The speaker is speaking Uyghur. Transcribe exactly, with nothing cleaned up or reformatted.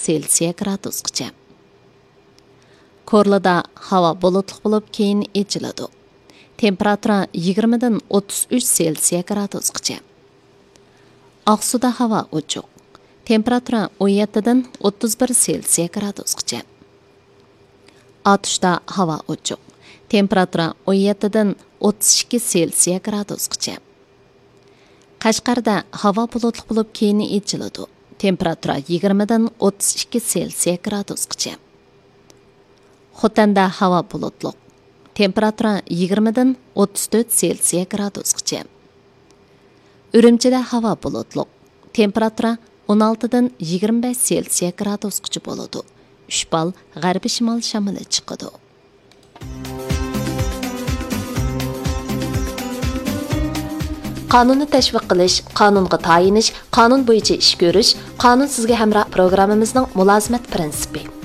سېلسىيە گرادۇسقىچە. كورلىدا ھاۋا بۇلۇتلۇق بولۇپ، كېيىن ئېچىلىدۇ. تېمپېراتۇرا يىگىرمىدىن ئوتتۇز ئۈچ سېلسىيە گرادۇسقىچە. ئاقسۇدا ھاۋا ئوچۇق. تېمپېراتۇرا ئون يەتتىدىن ئوتتۇز بىر سېلسىيە گرادۇسقىچە. ئاتۇشتا ھاۋا ئوچۇق. تېمپېراتۇرا ئون يەتتىدىن ئوتتۇز ئىككى سېلسىيە گرادۇسقىچە. قەشقەردە ھاۋا بۇلۇتلۇق بولۇپ، كېيىن ئېچىلىدۇ. تېمپېراتۇرا يىگىرمىدىن ئوتتۇز ئىككى سېلسىيە گرادۇسقىچە. خوتەندە ھاۋا بۇلۇتلۇق. تېمپېراتۇرا يىگىرمىدىن ئوتتۇز تۆت سېلسىيە گرادۇسقىچە. ئۈرۈمچىدە ھاۋا بۇلۇتلۇق. تېمپېراتۇرا ئون ئالتىدىن يىگىرمە بەش سېلسىيە گرادۇسقىچە بولىدۇ. ئۈچ بال غەربىي شىمال شامىلى چىقىدۇ. قانۇننى تەشۋىق قىلىش، قانۇنغا تايىنىش، قانۇن بويىچە ئىش كۆرۈش، قانۇن سىزگە ھەمراھ پروگراممىمىزنىڭ مۇلازىمەت پىرىنسىپى.